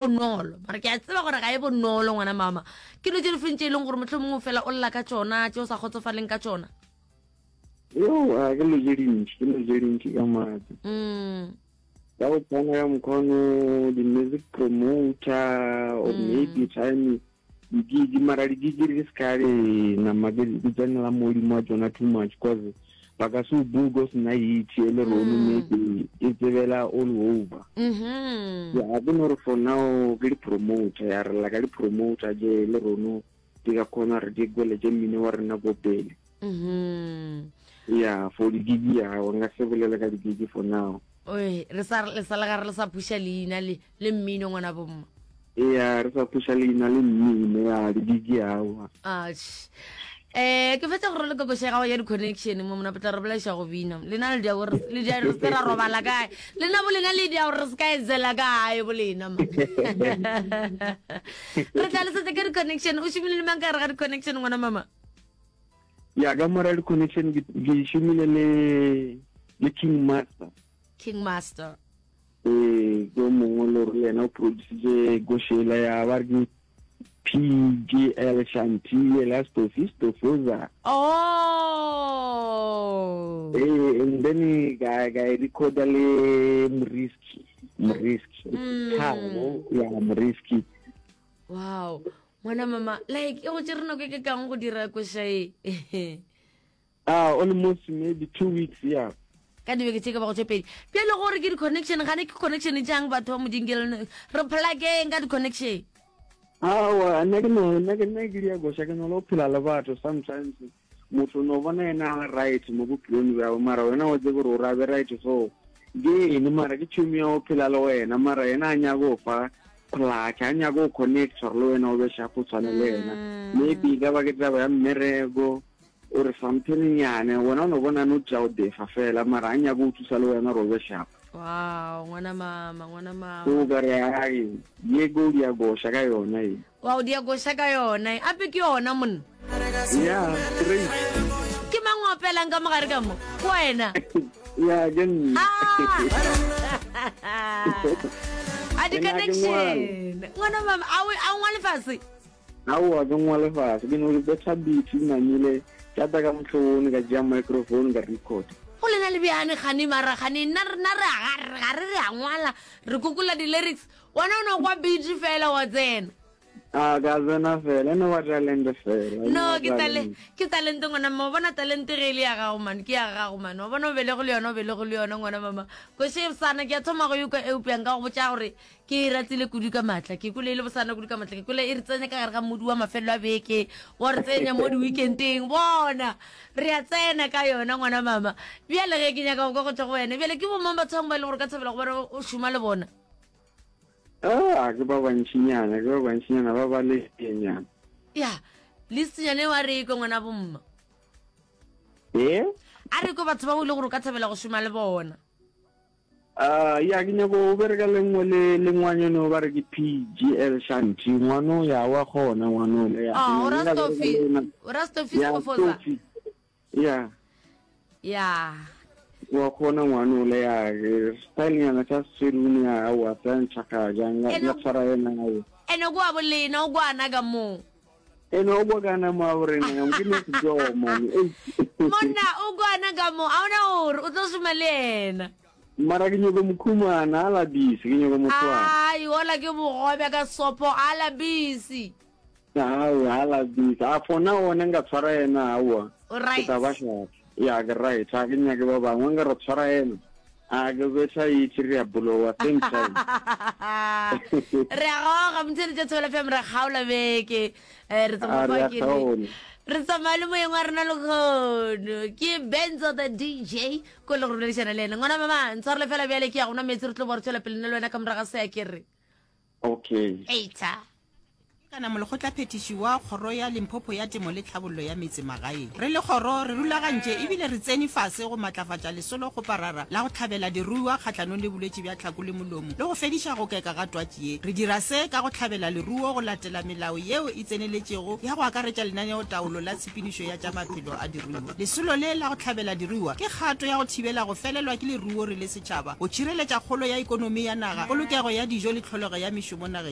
Bonolo, mara ke a tseba gore ga e bonolo ngwana mama. Ke dilo tše di feng tše e leng gore mohlomongwe o fela o lla ka tšona, tše o sa kgotsofaleng ka tšona? Yo, a ke dilo tše dintši, ke dilo tše dintši ka maatla. Mm. Ka go tshwana ka mokgono di-music promoter or Mm. maybe time di-gig, mara di-gig di se ka di nama di di tsenela modimo wa tšona too much cause ba ka se o book o sena hit e le rone Mm. maybe e tsebela all over. Mhm. Ya ke no re for now ke di-promoter ya re lla ka di-promoter je le rono di ka kgona re di gweletše mmino wa rena ko pele. Mhm. Ya for di-gig ya nka se bolele ka di-gig for now. Oi, re sa le sa le gare le sa phuša leina le le mmino ngwana bomma. Ya re sa phuša leina le mmino ya di-gig aowa. Atjhe. Eh, ke fetsa gore le kokoša ya gago ya di-connection mo mona potla re bolaiša go bina. Lena le dia gore le dia re se ra robala kae. Lena bo lena le dia gore re se ka etsela kae bo lena ma. Re tla le setse ka di-connection. O šomile le mang ka gare ga di-connection ngwana mama? Ya ka mora di-connection ke ke šomile le le King Master. King Master. Ee, ke o mongwe le gore le yena o produsitse košela ya ba re ke PGL Shanti yela Stofi Stofoza. Oh. Ee, and then ka ka e recorda le Moriski, Moriski. Mm. Thabo ya Moriski. Wow. Ngwana mama, like e go tšere nako e ke kang go dira koša e. Ah, almost maybe 2 weeks, yeah. Ka dibeke tše ka bago tše pedi. Bjale gore ke di-connection, gane ke connection tšang batho ba modingele re plakeng ka di-connection. Aowa, nna ke no nna ke nna ke dia goša ke no lo phela le batho sometimes motho no bona yena a le right mo bophelong bjabo mara wena wa tsebe gore o ra be right so ke eng mara ke tšhomi ya go phela le wena mara yena a nyaka go fa plug a nyaka go connect gore le wena o be sharp o tshwane le yena maybe e ka ba ke taba ya mmereko O re something nyane wena o no bona no tša o defa fela mara a nyaka o thusa le wena gore o be sharp. Wow, ngwana mama, ngwana mama. O ka re ai ye go dia goša ka yona ye. Wow, dia goša ka yona. Ape ke yona monna. Yeah, straight. Ke mang o opelang ka mogare ka mo? Ke wena. Yeah, ke nna. Ah. A di connection. Ngwana mama, a o a ngwale fase. Aowa, ke ngwale fase. Ke no betha beat ke namile, ka tla ka mohlobone ka tšea microphone ka record. Go lena le bjane kgane mara kgane nna rena re a ga re re a ngwala re kokola di lyrics wena o no kwa beat fela wa tsena. A ka tsena fela e no ba talente fela. No ke tale ke talente ngwana mma wa bona talente ge e le ya gago man ke ya gago man wa bona o belego le yona o belego le yona ngwana mama koše sana ke a thoma go e kwa eupša nka go botša gore Ke e ratile kudu ka maatla. Ke kwele e le bosana kudu ka maatla. Ke kwele e re tsenya ka gare ga modu wa mafelelo a beke, wa re tsenya mo di-weekendeng. Bona, re a tsena ka yona ngwana mama. Bjale ge ke nyaka go kwa go tšwa go wena, bjale ke bomang batho bangwe ba e leng gore o ka thabela go bona o šoma le bona? Ah, ke ba bantšinyana, ke ba bantšinyana ba ba lenyana. Ya, listnyana eo a re ekwe ngwana bomma. Eh? A re ekwe batho ba o e leng gore o ka thabela go šoma le bona. Uh, ya ke nyako o bereka le nngwe le le ngwanyone ba re ke PGL Shanti ngwano ya wa kgona ngwano le ya oh, o ra Stofi o ra Stofi Skofoza ya ya wa kgona ngwano le ya style nyana sa serune ya wa sa ntshaka jang ya tshwara yena ya ene go a bolena o kwana ka mo ene o bokana mo a borena ke ne se jo man monna o kwana ka mo a ona gore o tlo šoma le yena Mara ke nyoko mo khumana, a la bisi, ke nyoko mo tshwara. Ai, ola ke bogobe ka sopo, a la bisi. Aowa, a la bisi. A for now one nka tshwara yena, aowa. O right. Ke tla ba sharp. Ya, ke right. Ha ke nyake ba bangwe, nka re tshwara yena. A ke betha itse re a bolowa same time. Re a goga, motheletša Thobela FM re kgaola beke. Eh, re A tsamaya re fa a ke re. kgaola. Re tsamaya le moyeng wa rena lekgono. Ke Benzo the DJ. Ko le go boledišana le ena. Ngwana mama, ntshwarele fela bjale ke ya go nwa meetse re tlo bo re tšwela pele nna le wena ka morago ga se ya ke re. Okay. Eita. Kana Molekgotlaphethiši wa Kgoro ya Limpopo ya Temo le Tlhabollo ya Metse Magaeng. Re le kgoro re rulagantše ebile re tsene fase go matlafatša lesolokgoparara la go hlabela diruiwa kgahlanong le bolwetši bja tlhako le molomo le go fediša go keka ga twatši ye. Re dira se ka go hlabela leruo go latela melao yeo e tseneletšego ya go akaretša lenaneotaolo la tshepedišo ya tša maphelo a diruiwa. Lesolo le la go hlabela diruiwa ke kgato ya go thibela go felelwa ke leruo re le setšhaba, go tšhireletša kgolo ya ekonomi ya naga, polokego ya dijo le tlholego ya mešomo nageng.